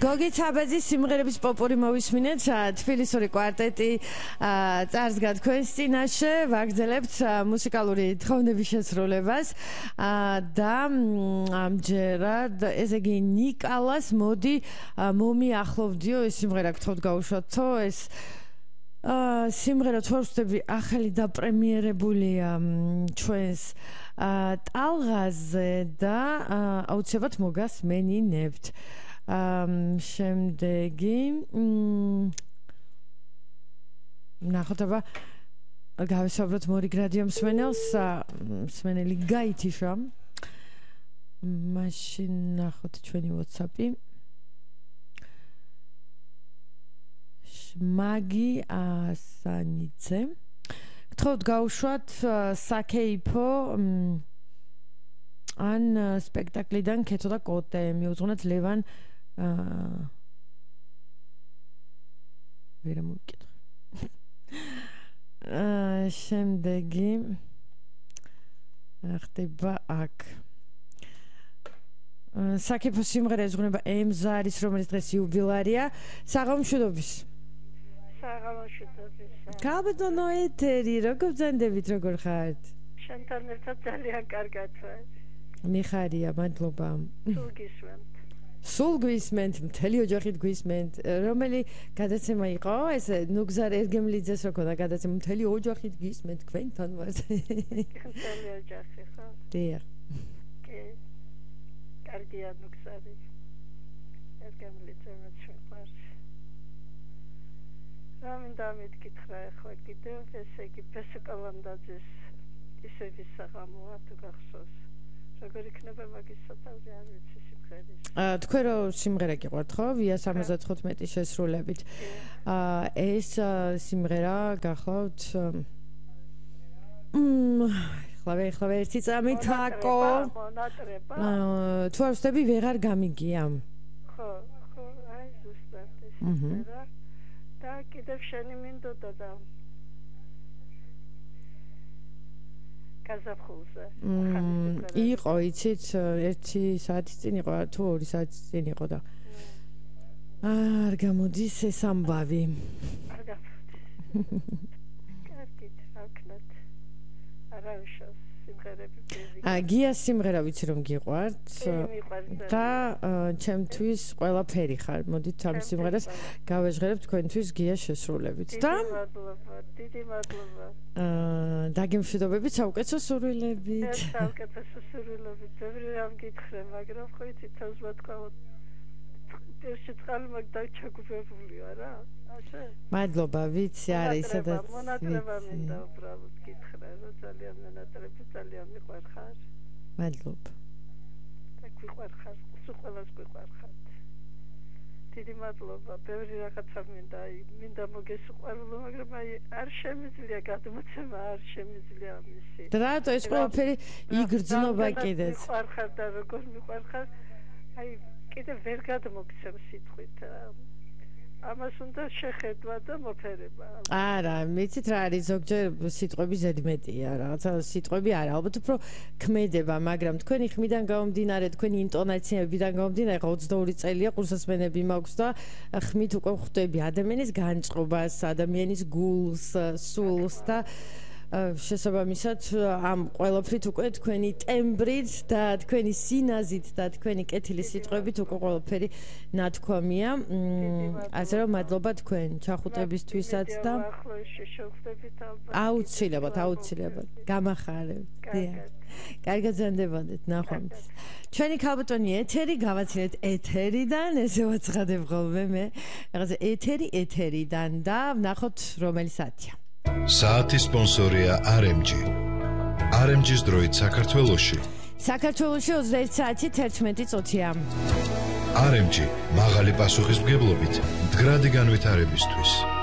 გოგი ცაბაძის სიმღერების პოპური მოვისმინეთ, თბილისური კვარტეტი წარსდგა თქვენს წინაშე, ვაგრძელებთ მუსიკალური თხოვნების შესრულებას და ამჯერად ესე იგი ნიკალას მოდი მომიახლოვდიო ეს სიმღერა გთხოვთ გაუშვათო ეს სიმღერა თორსტები ახალი დაპრემიერებულია ჩვენს ტალღაზე და აუცილებლად მოგასმენინებთ. შემდეგი ნახოთ აბა გავესაუბროთ მორიგრადიო მსმენელს მსმენელი გაითიშა მაშინ ნახოთ ჩვენი WhatsApp-ი მაგი ასანიცე გთხოვთ გაუშვათ საკეიფო ან სპექტაკლიდან კეთო და კოტე მიუძღვნათ ლევან ვერა მოვიკითხე შემდეგი ხდება აქ საკეიფო სიმღერა ეძღვნება ემზარის რომელიც დღეს იუბილარია საღამოშვიდობის კაბატონო ეთერი როგორ ბრძანდებით როგორ ხართ შენთან ერთად ძალიან კარგად ვარ მიხარია მადლობა სულ გვისმენთ მთელი ოჯახით გვისმენთ რომელი გადაცემა იყო ეს ნუგზარ ერგემლიძეს რო ქონდა გადაცემა მთელი ოჯახით გვისმენთ თქვენთან ვართ მთელი ოჯახი ხო დიახ კი კარგია ნუგზარი ერგემლიძე მეჩვენს რამინდა მითქრა ახლა კიდევ ესე იგი პესკალანდაძის ისევის საღამოა თუ გახსოვს როგორ იქნება მაგის სათავე არ ვიცი სიმღერის თქვენ რო სიმღერა გიყვართ ხო ვია 75 შესრულებით ეს სიმღერა გახლავთ ხლავე ერთი წამით აკო თუ არ ვსდები ვეღარ გამიგია ხო აი ზუსტად ეს სიმღერა და კიდევ შენი მინდოდა და გაზაფხულზე იყო იცით 1 საათის წინ იყო თუ 2 საათის წინ იყო და არ გამოდის ეს ამბავი არ გამოდის კარგით აკნათ არავიშოს სიმღერები გიას სიმღერა ვიცი რომ გიყვართ და ჩემთვის ყველაფერი ხარ მოდით ამ სიმღერას გავეჟღერებ თქვენთვის გიას შესრულებით და დიდი მადლობა დაგემშვიდობებით საუკეთესო სურვილებით საუკეთესო სურვილებით ბევრი რამ გითხრე მაგრამ ხო იცით თავს ვთქვათ ეს წყალი მაგ დაჩაგუებულია რა ასე მადლობა ვიცი არის სადაც მონატრება მინდა უბრალოდ გითხრე რომ ძალიან მონატრები ძალიან მიყვარხარ მადლობა და გვიყვარხარ სულ ყველას გვიყვარხართ დიდი მადლობა ბევრი რაღაცა მინდა მოგესიყვარულო მაგრამ აი არ შემიძლია გადმოცემა არ შემიძლია მისი და რატო ეს ყველაფერი იგრძნობა კიდეც მიყვარხარ და როგორ მიყვარხარ აი კიდე ვერ გადმოგცემ სიტყვით ამას უნდა შეხედვა და მოფერება არა მიცით რა არის ზოგჯერ სიტყვები ზედმეტია რაღაცა სიტყვები არა ალბათ უფრო ქმედება მაგრამ თქვენი ხმიდან გამომდინარე თქვენი ინტონაციებიდან გამომდინარე 22 წელია ყურსასმენები მაქვს და ხმით უკვე ხვდები ადამიანის განწყობას ადამიანის გულს სულს და შესაბამისად ამ ყველაფრით უკვე თქვენი ტემბრით და თქვენი სინაზით და თქვენი კეთილი სიტყვებით უკვე ყველაფერი ნათქვამია ასე რომ მადლობა თქვენ ჩახუტებისთვისაც და აუცილებლად გამახარებთ კარგად ზანდებოდეთ ნახვამდის ჩვენი ქალბატონი ეთერი გავაცილეთ ეთერიდან ესე ვაცხადებ ხოლმე მე რაღაცა ეთერიდან და ვნახოთ რომელი საათია საათის სპონსორია RMG. RMG-ის დროით საქართველოში 21 საათი 11 წუთია. RMG მაღალი პასუხისმგებლობით მდგრადი განვითარებისთვის.